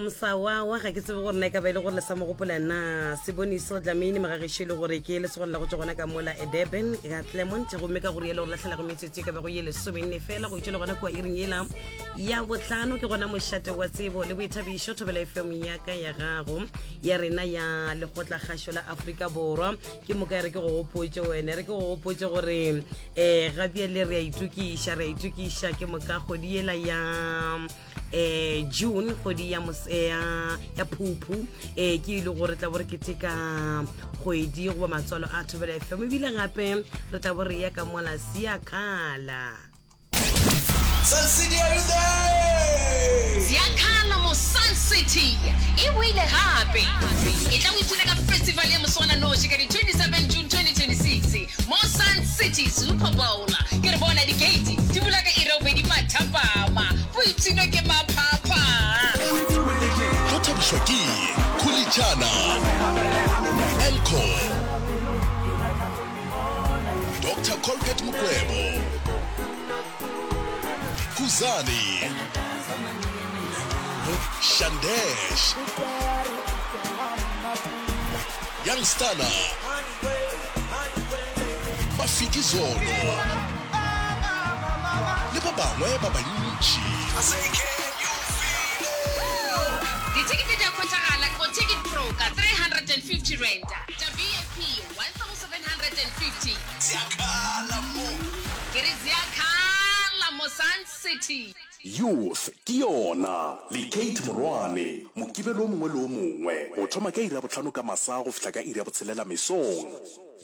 Msawawa ga ke tsebe gore na e ka ba e le gore le sa mo gopola na Seboniso Dlamini magagešo e le gore ke lesogana la go tšwa gona ka mola e Durban ka Claremont gomme ka gore yele gore lahlela go metsotso e ka bago ye lesomenne fela go itšwele gona kua iring yela ya bohlano ke gona mošate wa tsebo le boithabišo thobela FM ya ka ya gago ya rena ya lekgotlakgašo la Afrika Borwa ke moka e re ke go gopotše wene re ke go gopotše gore um gabjale re a itokiša re a itokiša ke moka kgwedi yela ya eh June kgwedi ya eh, ya ya phuphu eh ke ile gore tla bo re keteka kgwedi goba matswalo a Thobela FM ebile gape re tla bo re ya ka mola Siakhala Sun City, are you there? Siakhala mo Sun City e boile gape. E tla o ipshina ka festival ya moswananoši ka di 27 June 2026 mo Sun City Super Bowl. Ke re bona di-gate di bula ka iri ya bobedi mathapama. Boipshino ke maphapha. Go thabišwa ke Khulitšana, Elcor, Doctor Colbert Mukwevho, Khuzani, Shandesh, Young Stunna, Mafikizolo le ba bangwe ba bantši. Dithekete di a hwetšagala go Ticket Pro ka R350, tša VIP R1750. Ke re Ziakhala mo Sun City. Youth ke yona le Kate Morwane, Mokibelo o mongwe le o mongwe go thoma ka iri ya bohlano ka masa go fihla ka iri ya botshelela mesong.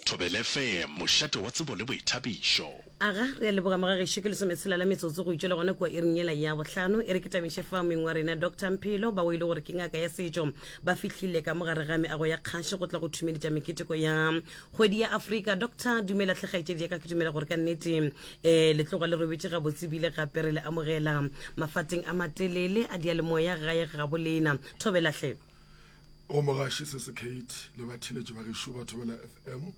Thobela FM, mošate wa tsebo le boithabišo. Aga, re a leboga mogagešo, ke lesometshela la metsotso go itšwela gona kua iring yela ya bohlano. E re ke tamiše fa moeng wa rena Doctor Mphelo, bao e le gore ke ngaka ya setšo, ba fihlile ka mo gare ga meago ya kgašo go tla go thumeletša meketeko ya Kgwedi ya Afrika. Doctor, dumela hle kgaetšedi ya ka, ke dumela gore ka nnete um le tloga le robetše gabotse ebile gape re le amogela mafateng a matelele a diyalemoya gae gabo lena. Thobela hle. Go mogaši se se Kate le batheeletši ba gešo ba Thobela FM,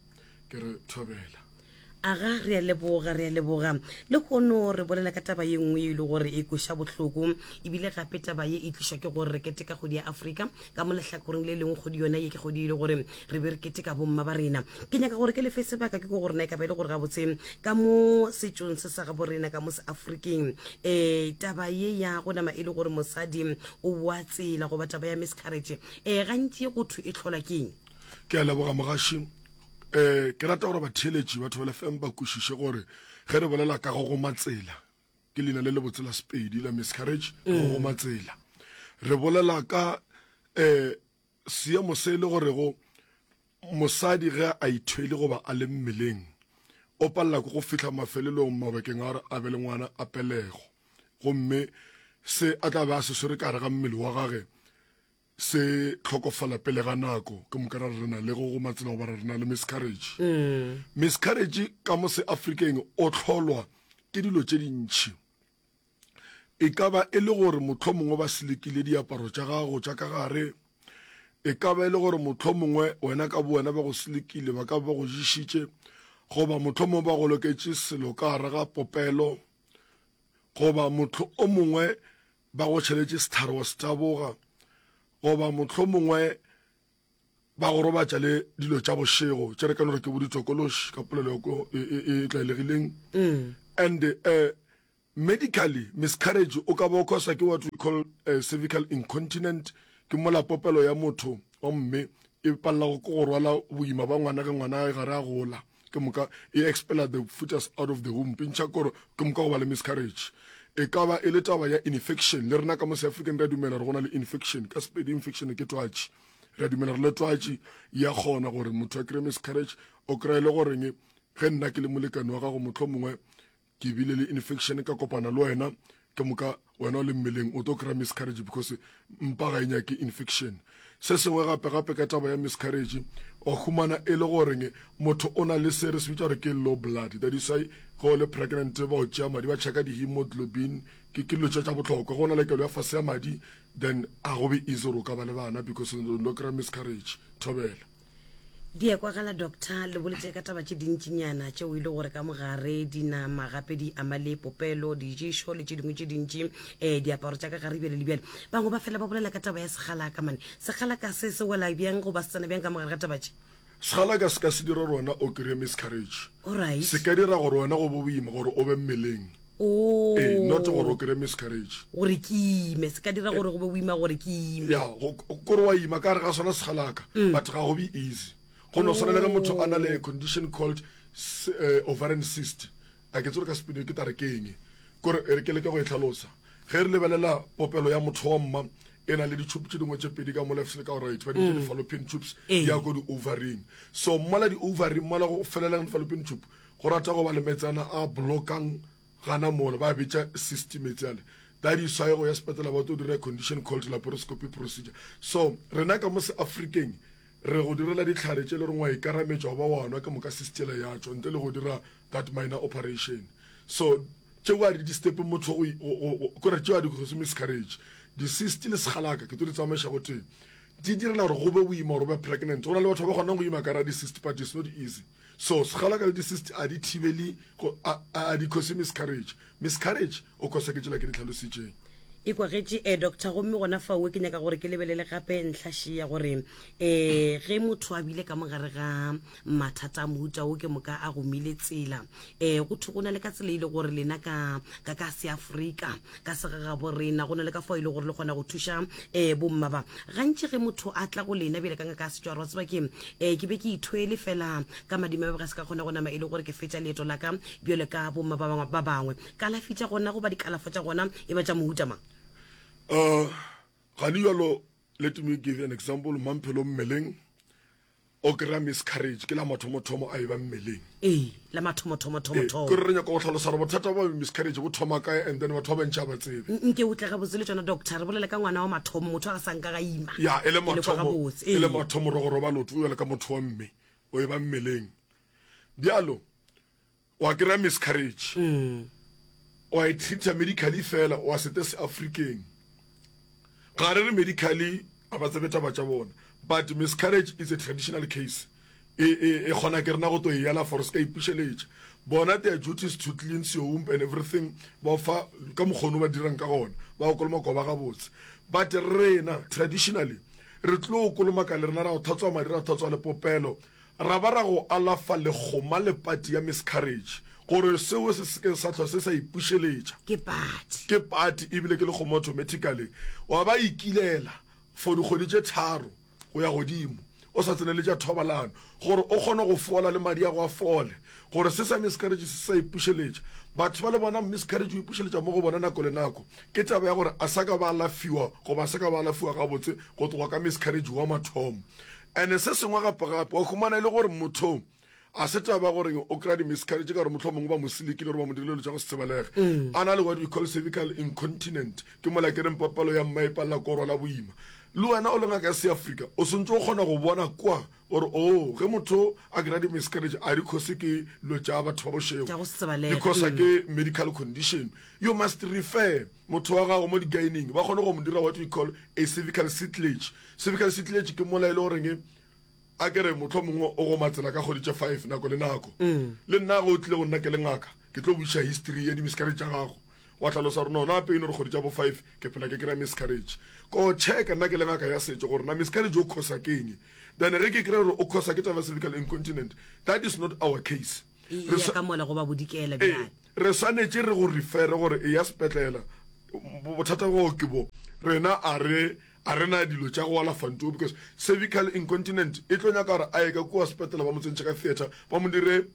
ke re thobela. Aga, re a leboga, re a leboga. Lehono re bolela ka taba ye nngwe e le gore e kweša bohloko, ebile gape taba ye e tlišwa ke gore re keteka kgwedi ya Afrika. Ka mo lehlakoreng le lengwe kgwedi yona ye ke kgwedi e le gore re be re keteka bomma ba rena. Ke nyaka gore ke lefe sebaka ke ko gore na e ka ba e le gore gabotse ka mo setšong se sa gabo rena ka mo seafrikeng um taba ye ya go nama e le gore mosadi o boa tsela goba taba ya miscarriage um gantši go thwe e tlhola ke eng? Ke a leboga mogaši. Um ke rata gore batheeletši ba Thobela FM ba kwešiše gore ge re bolela ka go goma tsela, ke leina le lebotse la Sepedi la miscarriage, go mm. goma tsela. Re bolela ka um seemo se e le gorego mosadi ge a ithwele goba a le mmeleng o palela ke go fihla mafelelong mabakeng a gore a be le ngwana a pelego gomme se a tla be a se swere ka gare ga mmele wa gage se hlokofala pele ga nako ke moka ra re na le go goma tsela goba re na le miscarriage mm. miscarriage ka mo se afrikeng o hlolwa ke dilo tše dintšhi e ka ba e le gore motlho mongwe ba selekile diaparo tša gago tša ka gare e ka ba e le gore motlho mongwe wena ka bo wena ba go selekile ba ka ba go ješitše goba motlho mongwe ba go loketše selo ka gare ga popelo goba motlho o mongwe ba go tšheletše sehlare wa se taboga, goba mohlomongwe ba go robatša le dilo tša bošego tše re ka no re ke bo ditokološi ka polelo e, e, e tlwaelegileng mm. and uh, medically miscarriage o ka ba o causa ke what we call uh, cervical incontinent ke mola popelo ya motho wa mme e palela go go rwala boima ba ngwana ge ngwana a gare a gola ke moka e expela the fetus out of the womb e ntšha koro ke moka go ba le miscarriage e ka ba e le taba ya infection le rena ka mo south african re a dumela gore go na le infection ka sepedi infection ke twatši re a dumela gore le twatši ya kgona gore motho a kry miscarriage o kry-e le goreng ge nna ke le molekane wa gago motlho mongwe ke bile le infection ka kopana le wena ke moka wena o le mmeleng o tlo kry-a miscarriage because mpa ga e nyake infection se sengwe gape gape ka taba ya miscarriage wa humana e le goreng motho o na le se re se bitsa gore ke low blood that is why ge o le pregnant ba o tšea madi ba checka di-hemoglobin ke ke dilo tše tša bohlokwa go na le kelo ya fase ya madi then a go be easy gore o ka ba le bana because o lo kry-a miscarriage thobela. Di a kwagala Doctor, le boletše ka taba tše dintšinyana tšeo e le gore ka mogare di nama gape di ama le popelo, diješo le tše dingwe tše dintši, um diaparo tša ka gare bjale le bjale. Bangwe ba fela ba bolela ka taba ya segalaka mane. Segalaka se se wela bjang goba se tsena bjang ka mogare ga taba tše? Segalaka se ka se dire gore wena o kry-e miscarriage. Alright. Se ka dira gore wena go be boima gore o be mmeleng. Oh. Ee, not gore o kry-e miscarriage. Gore ke ime, se ka dira gore go be boima gore ke ime. Ya, kore wa ima ka gare ga sona segalaka, mm. but ga go be easy. Go no swana le ge motho a na le a condition called eh, ovarian cyst. A ke tsore ka sepedi ke tare ke eng. Kore e re ke leke go e tlhalosa. Ge re lebelela popelo ya motho wa mma e na le ditšhupu tše dingwe tše pedi ka mo left le ka right ba di bitša mm. di-fallopian tubes di ya ko di-ovaryng so mola di-ovary mola go felelang di-fallopian tube Go rata go ba le meetsana a blokang gana mola, ba bitša cyst meetse ale. That is why go ya sepetlela ba tlo dira condition called laparoscopy procedure. So rena ka mo se Afrikeng re go direla dihlare tše le reng wa ikarametša goba wa nwa ke moka cyst yela ya tšwa ntle le go dira that minor operation. So tšeo a di disturb motho go kore tšeo a di cause miscarriage. Di-cyst le segalaka ke tlo di tsamaiša go tee. Di direla gore go be boima gore o be pregnant. Go na le batho ba ba kgonang go ima ka ra di-cyst but it's not easy. So segalaka le di-cyst a di thibele go a a di cause miscarriage. Miscarriage o cause ke tsela ke di tlhalositšeng. E kwagetše eh doctor gomme gona faowe ke nyaka gore ke lebelele gape ntlha še ya gore eh ge motho a bile ka mogare ga mathata a mohuta wo ke moka a gomile tsela eh go thwe go na le ka tsela e le gore lena ka ka ka seafrika ka segagabo rena go na le ka fao e le gore le kgona go thuša um bomma ba gantši ge motho a tla go lena bjale ka ngaka ya setšwaro wa tseba ke um ke be ke ithwele fela ka madima ba ga se ka kgona go nama e le gore ke fetša leeto la ka bjale ka bomma ba bangwe ba bangwe kalafi tša gona goba dikalafo tša gona e ba tša mohuta mang Uh, gane jalo let me give an example mamphelo mmeleng O kry-a miscarriage ke la mathomothomo a e ba mmeleng. Ee, la mathomothomothomothomo. Ee, kore re nyaka go hlalosa gore bothata bja miscarriage bo thoma kae and then batho ba bantši ga ba tsebe. Nke o tle gabotse le tšona doctor, re bolele ka ngwana wa mathomo, motho a sa nka ga ima. Ya, e le mathomo, e le mathomo re go roba leoto o bjalo ka motho wa mme, o e ba mmeleng. Bjalo, wa kry-a miscarriage mm. wa e treata medically fela wa sete se afrikeng ga re re medically a ba tsebe taba tša bona but miscarriage is a traditional case e, e, e kgona ke rena go to e yala for se ka ipušeletša bona their duties to cleanse your womb and everything ba fa ka mokgono ba dirang ka gona ba go kolomaka ba gabotse but rena traditionally re tlo kolomaka le rena ra go tlhatswa madi ra tlhatswa le popelo Ra ba ra go alafa lekgoma le pati ya miscarriage gore seo se se ke sa hlwa se sa ipušeletša. Ke pati. Ke pati ebile ke lekgoma automatically. Wa ba ikilela for dikgwedi tše tharo go ya godimo o sa tsenele tša thobalano gore o kgone go fola le madi a go a fole gore se sa miscarriage se sa ipušeletša. Batho ba le bona miscarriage o ipušeletša mo go bona nako le nako ke taba ya gore a sa ka ba alafiwa goba a sa ka ba alafiwa gabotse go tloga ka miscarriage wa mathomo. And se sengwe gape gape, wa humana e le gore motho a se taba gore o kry-a di-miscarriage ka gore mohlomongwe ba mo silikile gore ba mo dirile dilo tša go se tsebalege. Mm. A na le what we call cervical incontinent, ke mola ke reng papalo ya mma e palela ko rwala boima. Le wena o le ngaka ya Seafrika, o swantse o kgona go bona kwa gore o oh, ge motho a kry-a di-miscarriage a di cause ke dilo tša batho ba bošego, di cause mm. ke medical condition. You must refer motho wa gago mo di-gyning ba kgone go mo dira what we call a cervical stlage. Cervical stlage ke mola e le goreng a ke re motlho mongwe o go matsela ka kgwedi tše five nako le nako. Mm. Le nna ge o tlile go nna ke le ngaka ke tlo buša history ya di-miscarriage tša gago wa tlhalosa gore no na pain gore kgwedi tša bo five ke phela ke kry-a miscarriage ko checka nna ke le ngaka ya setšo gore na miscarriage o khosa ke eng then ge ke kry gore o khosa ke taba cervical incontinent that is not our case E ya ka mola go ba bodikela bjale. Re swanetše re go refere gore eya sepetlela. Bothata bja gago ke bo. Rena a re a re na dilo tša go alafa nto because cervical incontinent e tlo nyaka gore a ye ka kua sepetlela ba mo tsentšhe ka theatre ba mo dire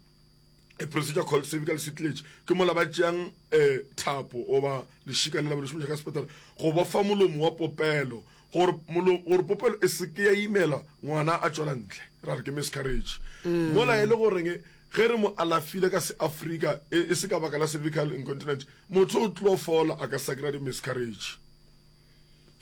a procedure called cervical stlage ke mola ba tšeang um thapo goba lešika lela ba le šomiša ka sepetlela go bofa molomo wa popelo Gore molo, gore popelo e se ke ya imela ngwana a tšwela ntle, ra re ke miscarriage. Mm. Mola e le goreng ge re mo alafile ka seAfrika e, e se ka baka la cervical incontinence, motho o tlo fola a ka sa kry-a di-miscarriage.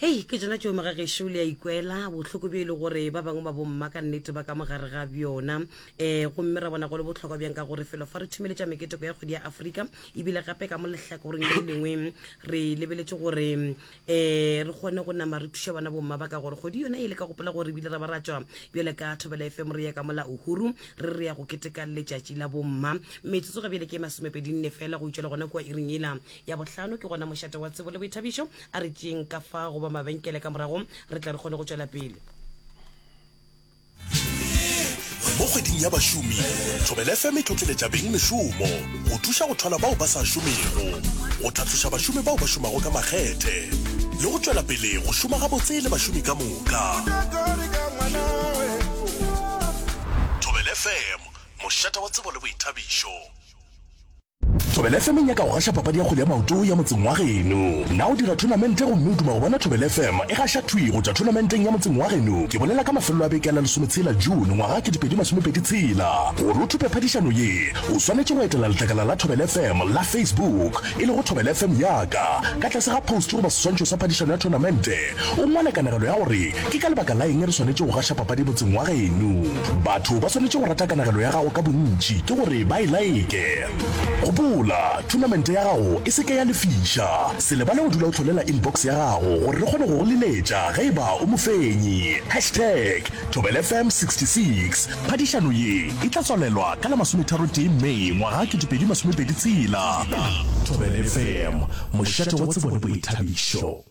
Hei, ke tšona tšeo mogagešo le a ikwela bohloko bjo e le gore ba bangwe ba bomma ka nnete ba ka mogare ga bjona. Um gomme ra bona go le bohlokwa bjang ka gore felo fa re thumeletša meketeko ya kgwedi ya Afrika, ebile gape ka mo lehlakoreng le lengwe re lebeletše gore um re kgone go nama re thuša bona bomma ba ka gore kgwedi yona e le ka gopola gore ebile ra ba ra tšwa bjale ka Thobela FM re ya ka mola Uhuru re re ya go keteka letšatši la bomma. Metsotso ga bjale ke masomepedinne fela go itšwela gona kua iring yela Ya bohlano ke gona mošate wa tsebo le boithabišo. A re tšeeng ka fa goba mabenkele ka morago re tle re kgone go tšwela pele. Mo kgweding ya bašomi, Thobela FM e tlotleletša beng mešomo go thuša go thwala bao ba sa šomego, go tlhatloša bašomi bao ba šomago ka makgethe le go tšwela pele go šoma gabotse le bašomi ka moka. Thobela FM, mošate wa tsebo le boithabišo. Thobela FM e nyaka go gaša papadi ya kgwele ya maoto ya motseng wa geno. Na o dira thonamente gomme o duma go bona Thobela FM e gaša thwi go tšwa thonamenteng ya motseng wa geno? Ke bolela ka mafelelo a beke a la lesometshela June ngwaga 2026. Gore o thope phadišano ye, o swanetše go etela letlakala la Thobela FM la Facebook, e lego Thobela FM Ya Ka. Ka tlase ga post goba seswantšho sa phadišano ya thonamente, o ngwale kanegelo ya gore Ke ka lebaka la eng re swanetše go gaša papadi motseng wa geno? Batho ba swanetše go rata kanegelo ya gago ka bontši, ke gore ba e laeke. Gopola, thonamente ya gago e se ke ya lefiša. Se lebale go dula o hlolela inbox ya gago gore re kgone go go leletša ge e ba o mofenyi. Hashtag ThobelaFM66. Phadišano ye e tla tswalelwa ka la masometharotee May ngwaga 2026. Thobela FM, mošate wa tsebo le boithabišo.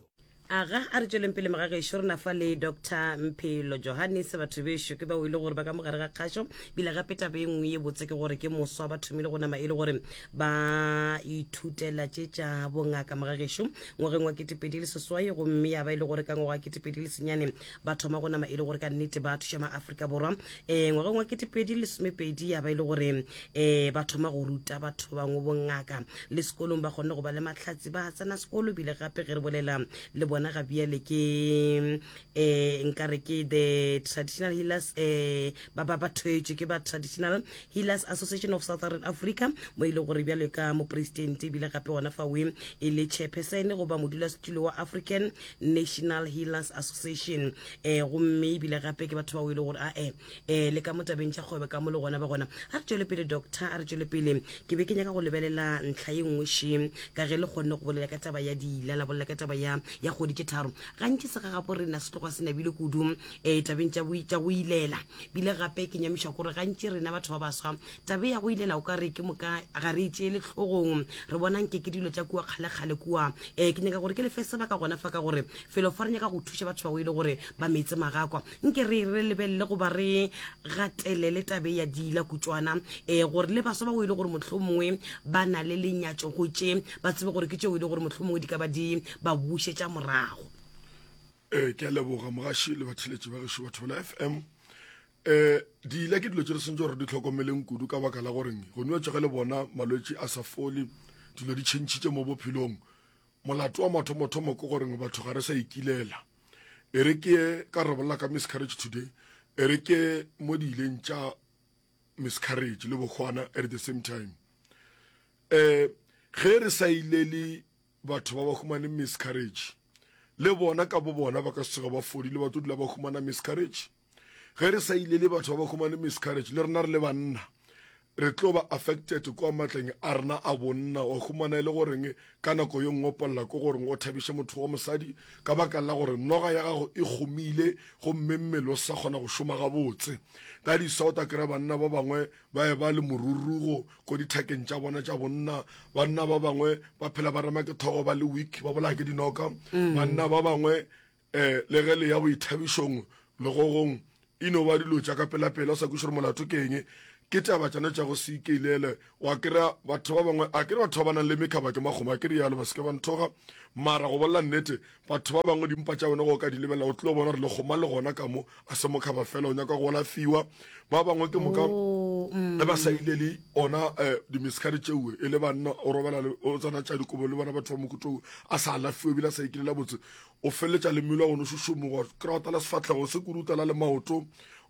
Aga, a re tšweleng pele mogagešo, re na fa le Doctor Mphelo Johannes. Batho bešo ke bao e le gore ba ka mogare ga kgašo. Bile gape taba e nngwe ye botse ke gore ke moswa ba thomile go nama e le gore ba ithutela tše tša bongaka mogagešo ngwageng wa 2008, gomme ya ba e le gore ka ngwaga wa 2009 ba thoma go nama e le gore ka nnete ba thuša ma-Afrika Borwa. Um ngwageng wa 2012 ya ba e le gore um ba thoma go ruta batho bangwe bongaka le sekolong, ba kgonne go ba le mahlatsi, ba tsena sekolo. Bile gape ge re bolela le bona ga bjale ke um nkare ke the traditional healers, um ba ba ba thwetšwe ke ba Traditional Healers Association of Southern Africa, mo e le gore bjale ka mopresidente, ebile gape gona fawe e le chairperson goba modulasetulo wa African National Healers Association. Um gomme ebile gape ke batho bao e le gore ae um le ka mo tabeng tša kgwebo ka mo le gona ba gona. A re tšwele pele, doctor, a re tšwele pele. Ke be ke nyaka go lebelela ntlha ye nngwe še, ka ge le kgonne go bolela ka taba ya diila, la bolela ka taba ya ya kgwedi tše tharo. Gantši segagapo rena se tloga se nabile kudu um tabeng tša tša go ilela. Bile gape ke nyamišwa kore gantši rena batho ba baswa tabe ya go ilela o ka re ke moka ga re e tšeele hlogong, re bona nke ke dilo tša kua kgalekgale kua. Um ke nyaka gore ke lefe sebaka gona fa ka gore felo fa re nyaka go thuša batho ba go ile gore ba metse magakwa. Nke re re lebelele goba re gatelele tabe ya diila kutšwana, um gore le baswa ba o e le gore mohlomongwe ba na le lenyatšo go tše, ba tsebe gore ke tšeo e le gore mohlomongwe di ka ba di ba bušetša morago. Ee, ke a leboga mogaši le batheletši ba gešo ba Thobela FM. Um diila ke dilo tše re swanetše gore di hlokomeleng kudu ka baka la goreng go nwa tšege le bona malwetši a sa fole, dilo di tšhentšhitše mo bophelong. Molato wa mathomothomo ke goreng batho ga re sa ikilela. E re ke ka re bolela ka miscarriage today, e re ke mo di ileng tša miscarriage le bokgwana at the same time. Eh ge re sa ilele batho ba ba humane miscarriage, le bona ka bo bona ba ka se tsoge ba fodile, ba tlo dula ba humana miscarriage. Ge re sa ilele batho ba ba humane miscarriage, le rena re le banna re tlo ba affected kwa matleng a rena a bonna. Wa humana e le goreng ka nako ye nngwe o palela ke goreng o thabiše motho wa mosadi ka baka la gore noga ya gago e gomile gomme mmele o sa kgona go šoma gabotse. Ka di-south a kry-a banna ba bangwe ba e ba le morurugo ko dithakeng tša bona tša bonna. Banna ba bangwe ba phela ba rema ke thogo ba le weak, ba bolaya ke dinoka. Banna ba bangwe um le ge le ya boithabišong legogong e no ba dilo tša ka pelapela, o sa kweše gore molato ke eng. Ke taba tšona tša go se ikeilele. Wa kry-a batho ba bangwe, a kere batho ba ba nang le mekhaba ke makgomo, a ke rialo, ba se ke ba nthoga. Mara go bolela nnete, batho ba bangwe dimpa tša bona go ka di lebelela o tlo bona gore lekgoma le gona ka mo, a se mokhaba fela, o nyaka go alafiwa. Ba bangwe ke moka ge ba sa ilele ona um di-miscarriage tšeoe e le banna, o robala o tsena tša dikobo le bona batho ba mokutong a sa alafiwe ebile a sa ikilela botse, o feleletša le mmele wa gone o šošomoga, kry-a o tala sefahlego se kudu, o tala le maoto.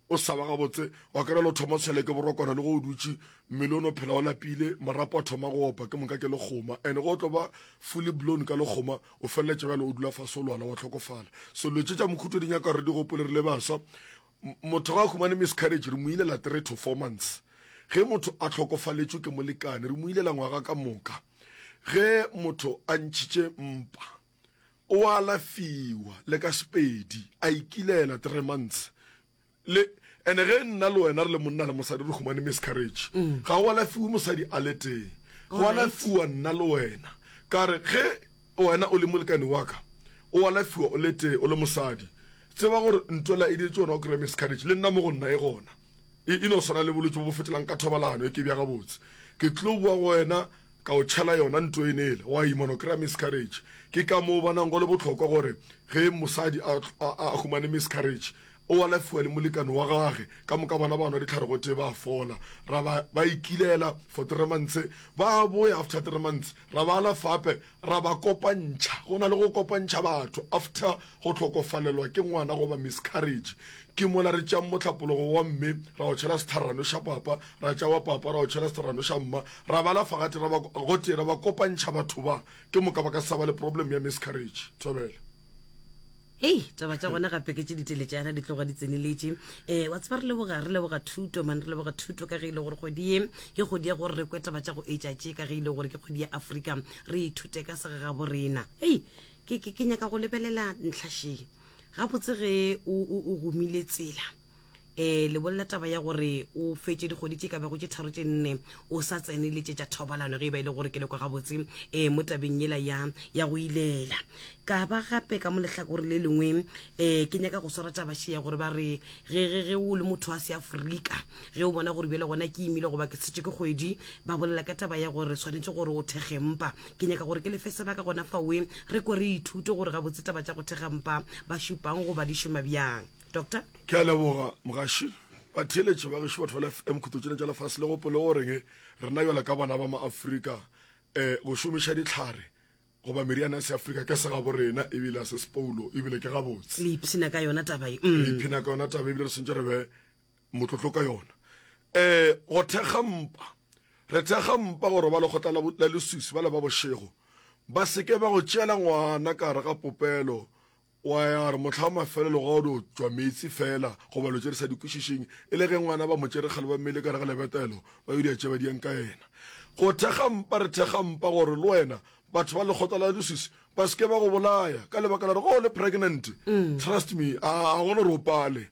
o sa ba gabotse, wa kry-a le o thoma o tshwele ke borokwana le go o dutše, mmele o no phela o lapile, marapo a thoma go opa, ke moka ke lekgoma. And ge o tlo ba fully blown ka lekgoma, o feleletša bjale o dula fase o lwala wa hlokofala. So dilo tše tša mokhuto di nyaka gore re di gopole re le baswa. Motho ga a humane miscarriage re mo ilela 3 to 4 months. Ge motho a hlokofaletšwe ke molekane re mo ilela ngwaga ka moka. Ge motho a ntšhitše mpa o alafiwa le ka Sepedi a ikilela 3 months. Le ene ge nna le wena re le monna le mosadi re humane miscarriage ga go alafiwe mosadi a le tee, go alafiwa nna le wena. Ka re ge Wena o le molekane wa ka, o alafiwa o le tee, o le mosadi. Tseba gore ntwela e diretše wena o kry-a miscarriage, le nna mo go nna e gona. E, e no swana le bolwetši bo bo fetelang ka thobalano, e ke bja gabotse. Ke tlo boa go wena ka o tšhela yona nto ene ele, wa ima no kry-a miscarriage. Ke ka moo bonang go le bohlokwa gore ge mosadi a, a, a humane miscarriage, o alafiwa le molekane wa gage, ka moka bona ba nwa dihlare gotee ba fola. Ra ba, ba ikilela for three months, ba boya after three months, Ra ba alafa gape ra ba kopantšha. Go na le go kopantšha batho after go hlokofalelwa ke ngwana goba miscarriage. Ke mola re tšeang mohlapologo wa mme ra o tšhela setharano xa papa, ra tšea wa papa ra o tšhela setharano xa mma, ra ba alafa gate ra ba gotee ra ba kopantšha batho ba, ke moka ba ka se sa ba le problem ya miscarriage. Thobela. Hei, taba tša gona gape ke tše diteletšana di tloga di tseneletše. Um wa tseba re leboga re leboga thuto man re leboga thuto ka ge e le gore kgwedi ye ke kgwedi ya gore re kwe taba tša go etša tše ka ge e le gore ke kgwedi ya Afrika re ithute ka segagabo rena. Hei, ke ke ke nyaka go lebelela ntlha še. Gabotse ge o o o gomile tsela um le bolela taba ya gore o fetše dikgwedi tše ka bago tše tharo tše nne o sa tsene le tše tša thobalano ge e ba e le gore ke le kwa gabotse um mo tabeng yela ya ya go ilela. Ka ba gape ka mo lehlakore le lengwe um ke nyaka go swara taba še ya gore ba re ge ge ge o le motho wa Seafrika ge o bona gore bjale gona ke imile goba ke tshetše ke kgwedi ba bolela ka taba ya gore swanetše gore o thekge mpa. Ke nyaka gore ke lefe sebaka gona faoe re kwe re ithute gore gabotse taba tša go thekga mpa ba šupang goba di šoma bjang. Doctor? Ke a leboga, mogaši. Batheeletši ba gešo, batho ba la FM khutlo tšena tša lefase, le gopole goreng rena bjalo ka bana ba Maafrika um go šomiša dihlare goba meriana ya Seafrika ke segabo rena ebile a se sepoulo ebile ke gabotse. Le ipshina ka yona taba ye. Re mm. ipshina ka yona taba ebile re swantše re be motlotlo ka yona. Um go thekga mpa, re thekga mpa gore ba lekgotla la leswiswi ba le ba bošego ba se ke ba go tšeela ngwana ka gare ga popelo Wa ya re mohla wa mafelelo ga o dio tšwa meetse fela goba lo tše re sa di kwešišeng, e le ge ngwana ba mo tšere kgale ba mmeile ka gare ga lebetelo, ba yo dia tše ba diang ka yena. Go thekga mpa, re thekga mpa gore le wena batho ba lekgotla la leswiswi ba se ke ba go bolaya ka lebaka la gore ge o le pregnant, trust me, a a gona gore o pale.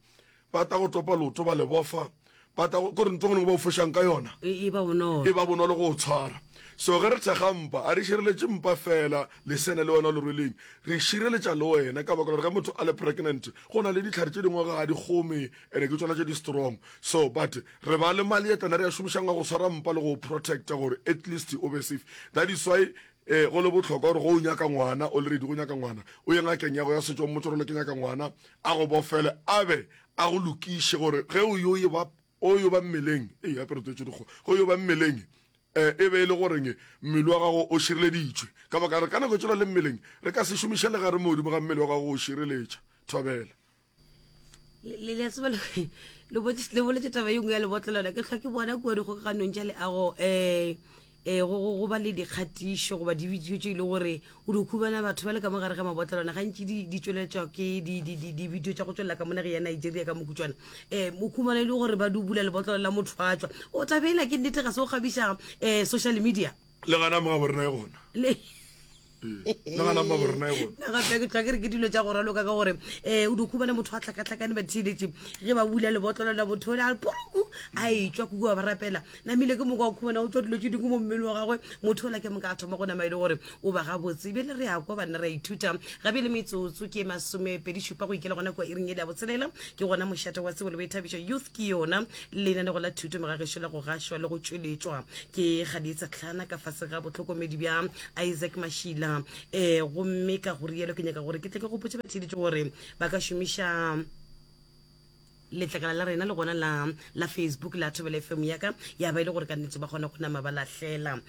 Ba tla go topa leoto ba le bofa, ba tla go, kore ntho e nngwe ba o fošang ka yona E, e ba bonolo. e ba bonolo go o tshwara. So ge re thekga mpa, a re šireletše mpa fela, lesene le wena o le rweleng, re šireletša le wena ka baka la gore ge motho a le pregnant, go na le dihlare tše dingwe ga di kgome and ke tšona tše di strong. So but re ba le maleetana re a šomišang a go tshwara mpa le go o protecta gore at least o be safe. That is why eh, go le bohlokwa gore go o nyaka ngwana, o le ready go nyaka ngwana, o ye ngakeng ya go ya setšo, o mmotse gore le ke nyaka ngwana, a go bofele a be a go lokiše gore ge o yo ba o yo ba mmeleng, ee gape re tswetše dikgo, ge o yo ba mmeleng um e be e le goreng mmele wa gago o šireleditšwe, ka baka re ka nako tšela le mmeleng re ka se šomiše legare mo godimo ga mmele wa gago go o šireletša. Thobela. Le le a tseba le boletše taba ye nngwe ya lebotlelwana ke hlwa ke bona kua dikgokaganong tša leago um um go go ba le dikgatišo goba dibidio tše e le gore o di khumana batho ba le ka mo gare ga mabotlelwana gantši di di tšweletšwa ke dibidio tša go tšwelela ka mo nageng ya Nigeria ka mokutšwana um o khumana e le gore ba dubula lebotlelo la motho a tšwa o tabela ke nnete ga se o kgabiša um social media. Le gana mo gabo rena e gona. Le le gana mo gabo rena e gona. Nna gape ke tlwa ke re ke dilo tša go raloka ka gore um o di khumana motho a tlhakatlhakane ba theeletše ge ba bula lebotlelo la motho ole a re puruku a etšwa kuku wa ba rapela namile ke moka o khumana o tšwa dilo tše dingwe mo mmele wa gagwe motho ola ke moka a thoma go nama e le gore o ba gabotse bjale re a kwa banna re a ithuta gabe le metsotso ke masomepedi šupa go ikela gona kua iring ele ya botshelela ke gona mošate wa tsebo le boithabišo youth ke yona lenanego la thuto megagešo la go gašwa le go tšweletšwa ke Kgadietsa Tlhana ka fase ga bohlokomedi bja Isaac Mashila um gomme ka go rialo ke nyaka gore ke tle ke gopotše batheeletši gore ba ka šomiša. Letlakala la rena le gona la, la Facebook la Thobela FM ya ka, ya ba e le gore ka nnete ba kgona go nama ba lahlela um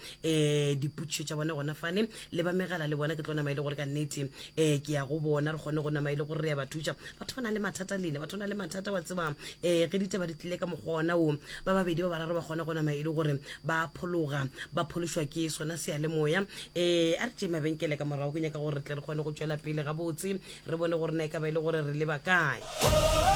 dipotšišo tša bona gona fane. Le ba megala le bona ke tlo nama e le gore ka nnete um ke ya go bona, re kgone go nama e le gore re ya ba thuša. Batho ba na le mathata lena, batho ba na le mathata wa tseba um ge ditaba di tlile ka mokgwa ona wo, ba babedi ba bararo ba kgona go nama e le gore ba phologa, ba phološwa ke sona seyalemoya. Um a re tšee mabenkele ka morago, ke nyaka gore re tle re kgone go tšwela pele gabotse, re bone gore na e ka ba e le gore re leba kae.